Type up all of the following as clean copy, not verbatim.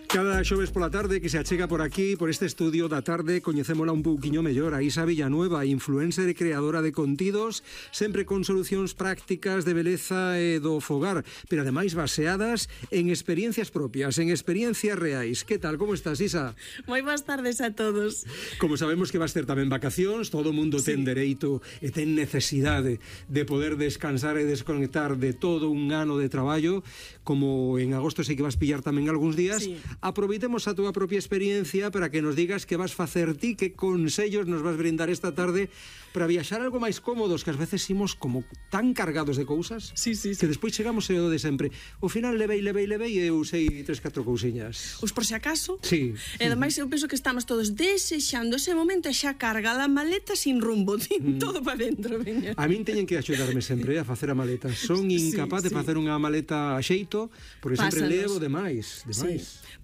Cada xoves pola tarde que se achega por aquí, por este estudio da tarde, coñecémola un pouquiño mellor, a Isa Villanueva, influencer e creadora de contidos, sempre con solucións prácticas de beleza e do fogar, pero ademais baseadas en experiencias propias, en experiencias reais. Que tal, como estás, Isa? Moi boas tardes a todos. Como sabemos que vas ter tamén vacacións, todo o mundo ten dereito e ten necesidade de poder descansar e desconectar de todo un ano de traballo, como en agosto sei que vas pillar tamén algúns días. Aproveitemos a túa propia experiencia para que nos digas que vas facer ti, que consellos nos vas brindar esta tarde para viaxar algo máis cómodos, que ás veces imos como tan cargados de cousas que despois chegamos e o de sempre. O final levei e eu sei 3-4 cousiñas. Os por si acaso. Sí. E ademais eu penso que estamos todos desexando ese momento e xa carga a maleta sin rumbo, todo para dentro, veña. A min teñen que axudarme sempre a facer a maleta. Son incapaz de facer unha maleta a xeito, porque sempre levo demais.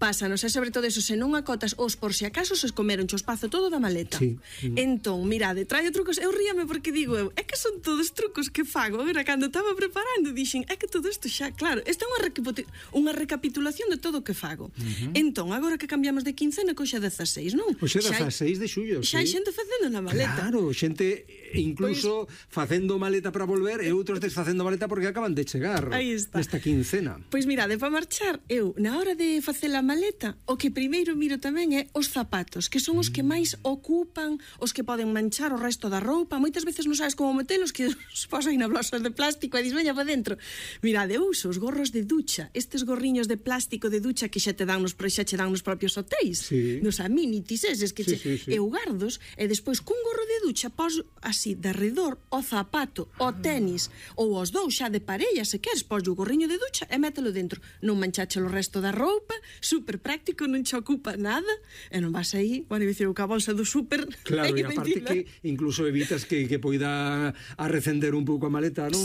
Pásanos, e sobre todo eso, se non acotas os por si acaso se comeron o espazo todo da maleta. Entón, mirade, traio trucos, eu ríame porque digo eu, é que son todos trucos que fago. Agora, cando estaba preparando, dixen, é que todo isto xa, claro, isto é unha recapitulación de todo o que fago. Entón, agora que cambiamos de quincena, coxa 16, non? Coxa 16 de xullo, xa hai xente facendo na maleta. Claro, xente incluso facendo maleta para volver e outros desfacendo maleta porque acaban de chegar nesta quincena. Pois mirade, para marchar, eu, na hora de facer a maleta, o que primeiro miro tamén é os zapatos, que son os que máis ocupan, os que poden manchar o resto da roupa. Moitas veces non sabes como metelos, que os pos aí na blosas de plástico e dis, veña para dentro. Mirade, eu uso os gorros de ducha, estes gorriños de plástico de ducha que xa te dan nos propios hotéis, nos amenities eses que eu gardos, e despois cun gorro de ducha pos así, de arredor, o zapato, o tenis, ou os dous xa de parella, se queres, pos o gorriño de ducha e mételo dentro. Non manchache o resto da roupa, super práctico, non che ocupa nada, e non vas aí, bueno, dicir, ca bolsa do súper. Claro, e aparte que incluso evitas que poida arrecender un pouco a maleta, non?